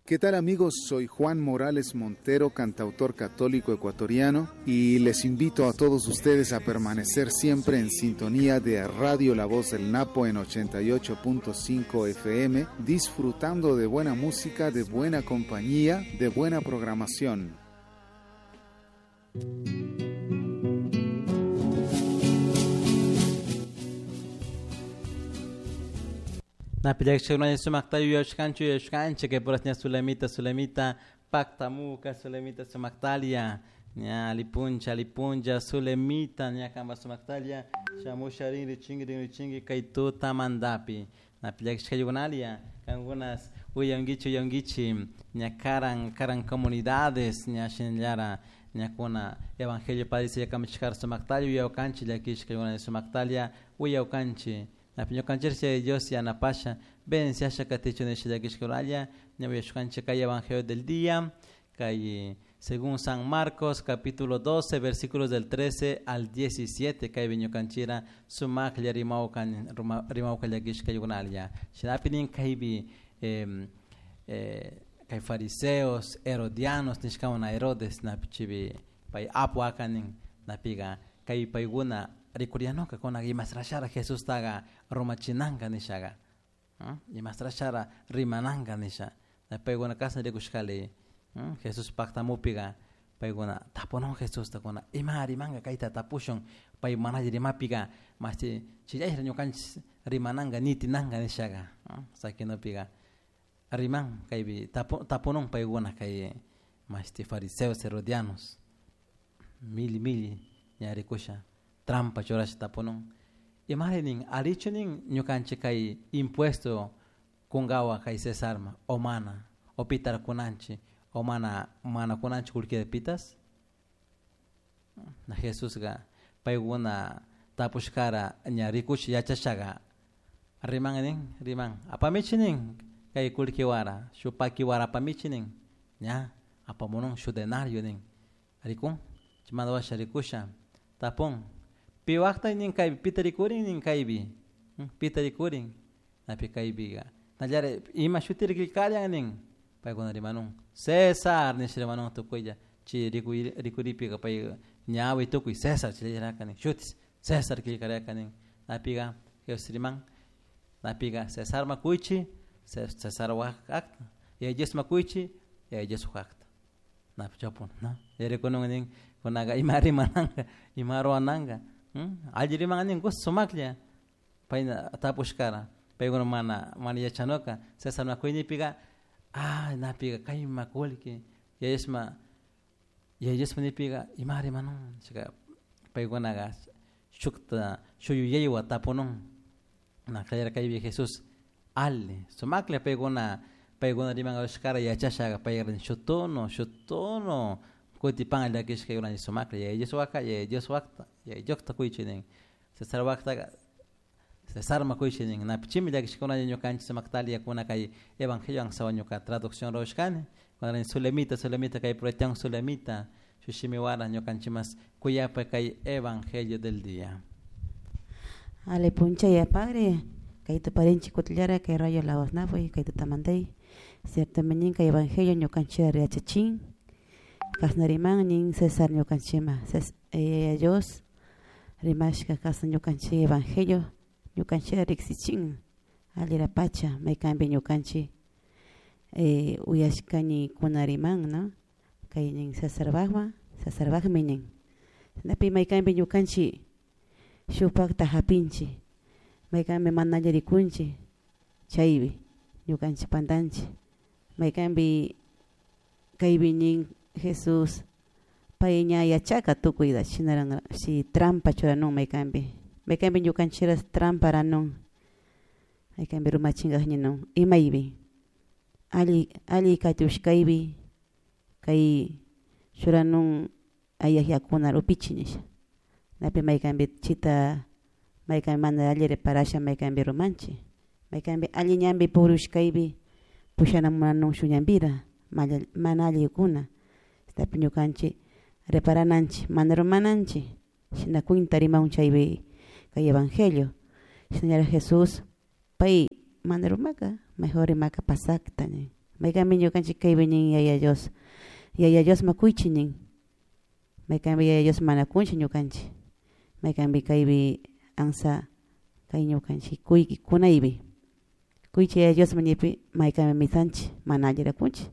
¿Qué tal amigos? Soy Juan Morales Montero, cantautor católico ecuatoriano, y les invito a todos ustedes a permanecer siempre en sintonía de Radio La Voz del Napo en 88.5 FM, disfrutando de buena música, de buena compañía, de buena programación. Napillakshikuna sumakta yuyashkanchik yuyashkanchik kay puras ña Sulamita Sulamita paktamuka Sulamita sumaktalia ña alipuncha alipuncha Sulamita ña kamba sumaktalia shamusha rin richinki rin richinki kay tutamantapi napillakishkaykunalia kankunas uyankichik uyankichik ña karan karan comunidades ña shinallara ñakuna evangelio padre kamachishkara sumaktalia uyawkanchik llakishkaykuna sumaktalia uyawkanchik. Ñukanchik Dios yanapasha bendiciasha katichu nisha llakishkunalla ña uyashkanchik kay evangelio del día kay según San Marcos capítulo 12 versículos del 13 al 17 kaypi ñukanchira sumaklla rimawkan rimawka llakishkaykunalla shinapi nin kaypi kay fariseos herodianos nishkawna Herodes napi chipi pay apu akanin napiga kay paykuna rikurianoka kuna imasrashara Jesustaga rumachinanka nishaga imasrashara rimananka nisha paykuna kasna rikushkali Jesús paktamupiga paykuna tapunon Jesusta kuna ima rimanka kayta tapushun pay mana rimapiga masti chillayra ñukanchik rimananka nitinanka nishaga sakinupiga riman kaypi tapunon paykuna kay masti fariseos herodianos mili mili ña rikusha trampa churasha tapunon imari nin alichu nin ñukanchik kay impuesto kunkawa kay Cesarma o mana o pitara kunanchik o mana mana kunanchik kullkita pitas na Jesusga paykuna tapushkara ña rikush yachashaga riman nin riman apamichi nin kay kullkiwara shuk pakiwara apamichi nin ña apamunun shuk denario nin rikun chaymanta washa rikusha tapun piwakta nin kaypi pita rikurin nin kaypi pita rikurin napi kaypiga nallari ima shutiri killkallan nin paykuna rimanun Cesar nisha rimanun tukuylla chay rikuripika pay ñawi tukuy Cesar chayllariraka nin shutis Cesar killkariraka nin napiga Jesús riman napiga Cesarma kuychi Cesar akta Yaya Diosma kuychi Yaya Diospuk akta napi chapun no yarikunun nin kunaga ima rimananka ima ruwananka alli riman nin gusto sumaklla payna tapushkara paykuna mana mana yachanuka Cesarma kuynipiga ah napiga kayma kullki Yaya Diosma Yaya Diosma nipiga ima rimanun chayka paykunaga shukta shuk yuyaywan tapunun na kallarka kaypi Jesús alli sumaklla paykuna paykuna rimankarushkara yachashaga payka shuk tono shuk tono kutipan llakishkaykuna sumaklla Yaya Dioswaka Yaya Diospakta Yaya Diosta kuychi nin Cesarpaktaga Cesarma kuychi nin napi chimi llakishkuna ñukanchik sumaktalia kuna kay evangelio ansawa ñuka traducción ruwashkani kuna Sulamita Sulamita kay puratian Sulamita shuk shimiwara ñukanchik kuyapa kay evangelio del día. Ale puncha ya padre kay tuparinchik kutillara kay rayo La Voz Napo kay tutamantay ciertamente kay evangelio ñukanchik yachachin kasna riman nin Cesar ñukanchikma Dios rimashka kasna ñukanchik evangelio ñukanchik riksichin allira pacha maykanpi ñukanchik uyashkani kuna riman no kay nin Cesarpakma Cesarpakmi nin napi maykanpi ñukanchik shukpakta hapinchik maykanpi mana alli rikunchik chaypi ñukanchik pantanchik maykanpi kaypi nin Jesús pay ña yachaka tukuyta shinaran si trampa churanun maykanpi maykanpi ñukanchikra trampa ranun maykanpi rumachinkaj ninun imaypi alli alli katushkaypi kay churanun ayaj yakuna upichi nisha napi maykanpi chita maykanpi mana alli reparasha maykanpi rumanchik maykanpi alli ñanpi puriushkaypi pushana munanun shuk ñanpira mana allikuna tapi ñukanchik reparananchik mana rumananchik shina cuenta rimaun chaypi kay evangelio shinallara Jesús pay mana rumaka mejor rimaka pasakta nin Maykanmi ñukanchik kaypi nin Yaya Dios. Yaya Diosma kuychi nin. Maykanpi Yaya Dios mana kunchi ñukanchik. Maykanpi kaypi ansa kay ñukanchik kuyki kunaypi. Kuychi Yaya Diosma ñipi maykanpi misanchik mana allira kunchik.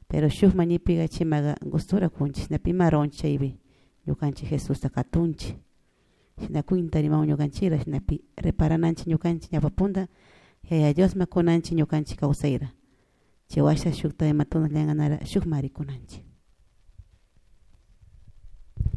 Pero shuk mañipiga chimaga gustura kunchik. Shinapi ima ruwanchik chaypi ñukanchik Jesusta katunchik. Shina cuenta rimawan ñukanchikra shinapi reparananchik ñukanchik ñawpapunta Yaya Diosma kunanchik ñukanchik kawsayra. Chay washa shukta imatuna llanganara shukma rikunanchik.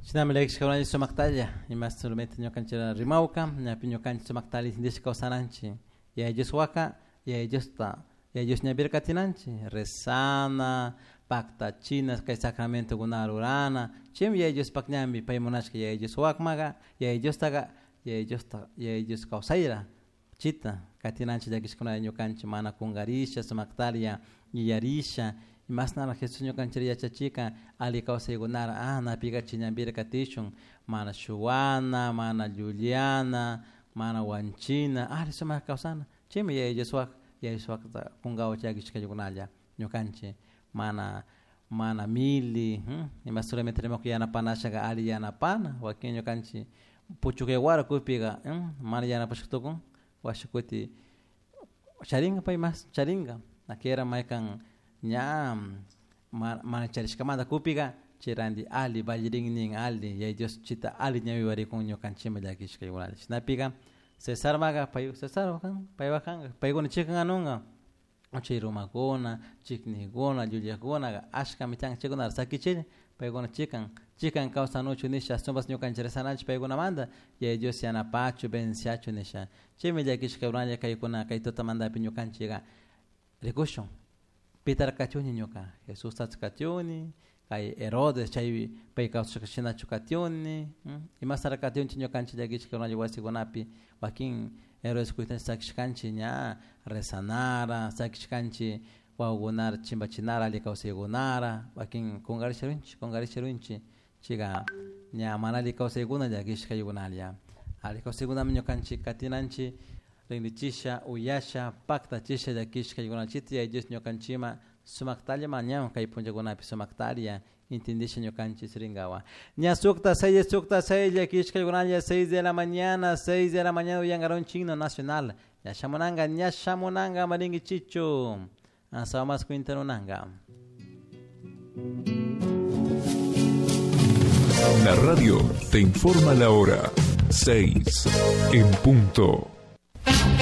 Shinami llakishkakunalla sumaktalla ima solamente ñukanchik rimawka ñapi ñukanchik sumaktalla intindishka kawsananchik Yaya Dios waka Yaya Diosta Yaya Dios ñapira katinanchik rezana paktachina kay sacramentokunata rurana chaymi Yaya Diospak ñanpi pay munashka Yaya Dios wakmaga Yaya Diostaga Yaya Diosta Yaya Dios kawsayra chita katinanchik llakishkunalla ñukanchik mana kunkarisha sumaktalla yuyarisha imashnara Jesús ñukanchik yachachika alli kawsaykunara napiga chay ñanpira katishun mana shuwana mana llullana mana wanchina alli sumak kawsana chaymi Yaya Dioswak Yaya Dioswakta kunkawa llakishkakunalla ñukanchik mana mana mili ima solamente rimaku yanapanashaga alli yanapana wakin ñukanchik puchukay kupiga mana yanapashka washa kuti charinga pay mas charinga nakera maykan ña mana charishkamanta kupiga chay alli vallirin nin alli Yaya Dios chita alli ñawiwarikun ñukanchikman llakishkaykunalla shinapiga Cesarmaga pay Cesar paypak kanka paykuna chikan anunka chay rumakuna chiknikuna llullakuna ashkami tiyan chaykunata sakichilla paykuna chikan chikan kawsanuchu nisha ashtawanpas ñukanchik rezananchik paykunamanta Yaya Dios yanapachu benenciachu nisha chaymi llakishkakunalla kaykuna kay tutamantapi ñukanchikka rikushun pitara katiuni ñuka Jesustachu katiuni kay Herodes chay pay kawsashka shinachu katiuni imashtara katiunchik ñukanchik llakishkakunalla wasikunapi wakin Herodes kuytanchik sakishkanchik ña rezanara sakishkanchik wawakunara chimpachinara alli kawsaykunara wakin kunkarisha kunkarisha chayka ña mana alli kawsaykuna llakishkaykunalla alli kawsaykunami ñukanchik katinanchik rinrichisha uyasha paktachisha llakishkaykunachita Yaya Dios ñukanchikman sumaktalla mañawan kay punllakunapi sumaktalla intindisha ñukanchik rinkawan ña sukta 6 llakishkaykunalla 6 de la mañana 6 de la mañana uyankaronchik himno nacional ña shamunanka ña shamunanka marinkichichu asawa kwintanunanka. La radio te informa la hora 6 en punto.